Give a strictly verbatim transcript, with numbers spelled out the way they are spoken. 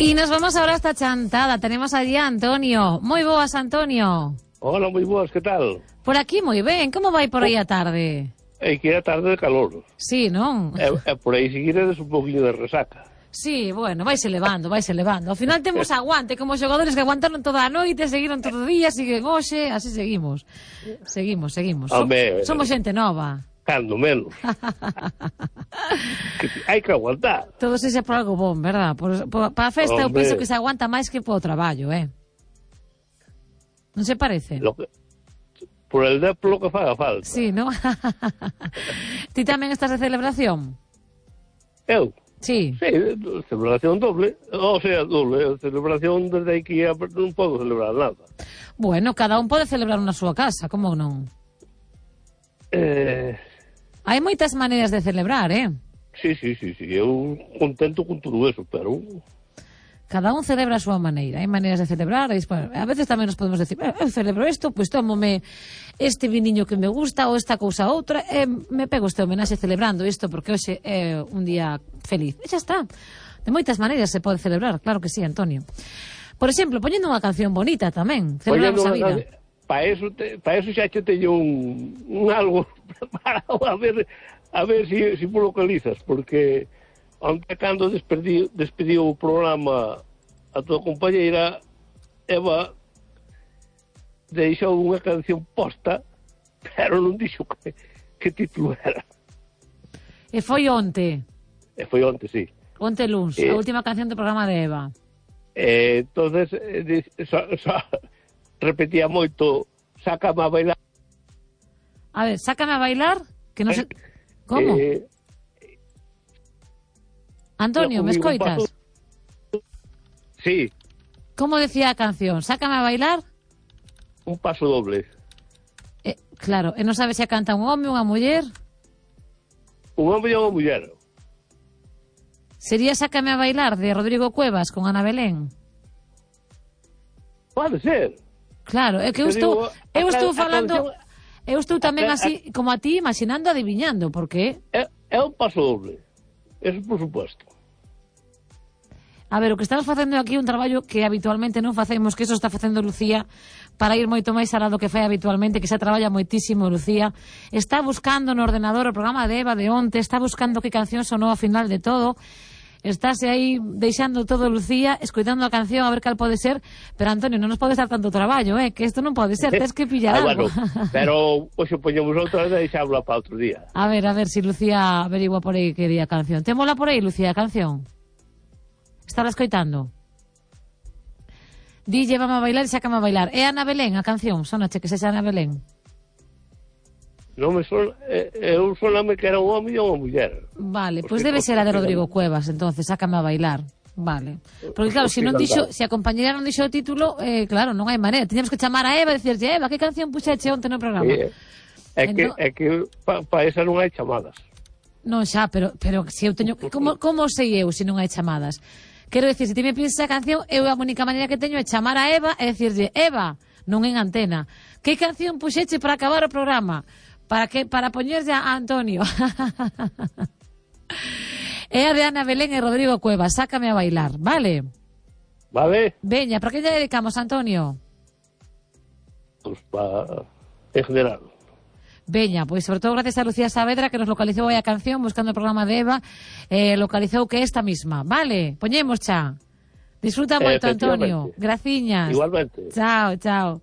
Y nos vamos ahora hasta Chantada. Tenemos allí a Antonio. Moi boas, Antonio. Hola, moi boas, que tal? Por aquí moi ben. Como vai por aí a tarde? É que é a tarde de calor. Sí, non? E, e por aí seguiredes un poquinho de resaca. Sí, bueno, vaise levando, vaise levando. Ao final temos aguante, como xogadores que aguantaron toda a noite, seguiron todo o día, siguen hoxe, así seguimos. Seguimos, seguimos. So, Hombre, somos xente nova. Cando menos. Que hai que aguantar. Todo se xa por algo bon, verdad? Por, por, para a festa eu Hombre. penso que se aguanta máis que por o traballo, eh? Non se parece? Lo que, por el deplo que faga falta. Sí, non? Ti tamén estás de celebración? Eu? Sí. Sí, celebración doble. O sea, doble. Celebración desde aquí a, non podo celebrar nada. Bueno, cada un pode celebrar na súa casa, como non? Eh... Hai moitas maneiras de celebrar, eh? Sí, sí, sí, sí. Eu contento con todo eso, pero... Cada un celebra a súa maneira. Hai maneiras de celebrar. E, bueno, a veces tamén nos podemos decir, eh, eu celebro isto, pois pues, tómome este viniño que me gusta ou esta cousa outra, e me pego este homenaxe celebrando isto porque hoxe é un día feliz. E xa está. De moitas maneiras se pode celebrar, claro que sí, Antonio. Por exemplo, poñendo unha canción bonita tamén. Celebramos a vida. Para eso, te, pa eso xa che teño un, un algo preparado a ver a ver si, si lo localizas, porque onte cando despediu, despediu o programa a tua compañeira Eva deixou unha canción posta, pero non dixo que, que título era. E foi onte. E foi onte, sí. Onte luns, eh, a última canción do programa de Eva. Eh, entonces eh, so, so, repetía moito, sácame a bailar. A ver, sácame a bailar, que non se... Como? Eh, Antonio, ¿me escoitas? Sí. Como decía a canción? Sácame a bailar? Un paso doble. Eh, claro, e non sabe se a canta un home, unha muller? Un home e unha muller. Sería Sácame a bailar, de Rodrigo Cuevas, con Ana Belén? Pode ser. Claro, é que eu estou, digo, eu a, estou a falando, canción, eu estou tamén a, así, a, como a ti, imaginando, adiviñando, porque... É, é un paso doble. Eso por supuesto. A ver, o que estamos facendo aquí é un traballo que habitualmente non facemos, que eso está facendo Lucía, para ir moito máis alá do que fai habitualmente, que xa traballa moitísimo Lucía. Está buscando no ordenador o programa de Eva de onte, está buscando que canción sonou ao final de todo. Estáse aí deixando todo Lucía, escoitando a canción a ver cal pode ser, pero Antonio, non nos podes dar tanto traballo, eh, que isto non pode ser, tens que pillar ah, algo. Bueno, pero hoxe poñemos outra vez e deixámosla para outro día. A ver, a ver si Lucía averigua por aí que día a canción. Témola por aí, Lucía, a canción? Está escoitando? Di, llévame a bailar e sácame a bailar. É Ana Belén a canción? Sónache que sexa Ana Belén. Non me son, eu soname que era un home e unha muller. Vale, pois pues debe ser a de Rodrigo Cuevas, entonces, sácame a bailar. Vale. Porque claro, se si non dixo, se a compañera non dixo o título, eh, claro, non hai maneira. Tiñamos que chamar a Eva e dicirlle, Eva, que canción puxeche onte no programa? É, é que, é que para pa esa non hai chamadas. Non xa, pero, pero se eu teño... Como, como sei eu se non hai chamadas? Quero dicir, se ti me pides esa canción, eu a única maneira que teño é chamar a Eva e dicirlle, Eva, non en antena, que canción puxeche para acabar o programa? Para que para poñerlle a Antonio. É a de Ana Belén e Rodrigo Cuevas, sácame a bailar, vale? Vale. Veña, para que lle dedicamos, Antonio? Pues para... en general. Veña, pois sobre todo gracias a Lucía Saavedra que nos localizou aí a canción buscando o programa de Eva, eh, localizou que esta misma, vale? Poñemos xa. Disfruta moito, Antonio. Graciñas. Igualmente. Chao, chao.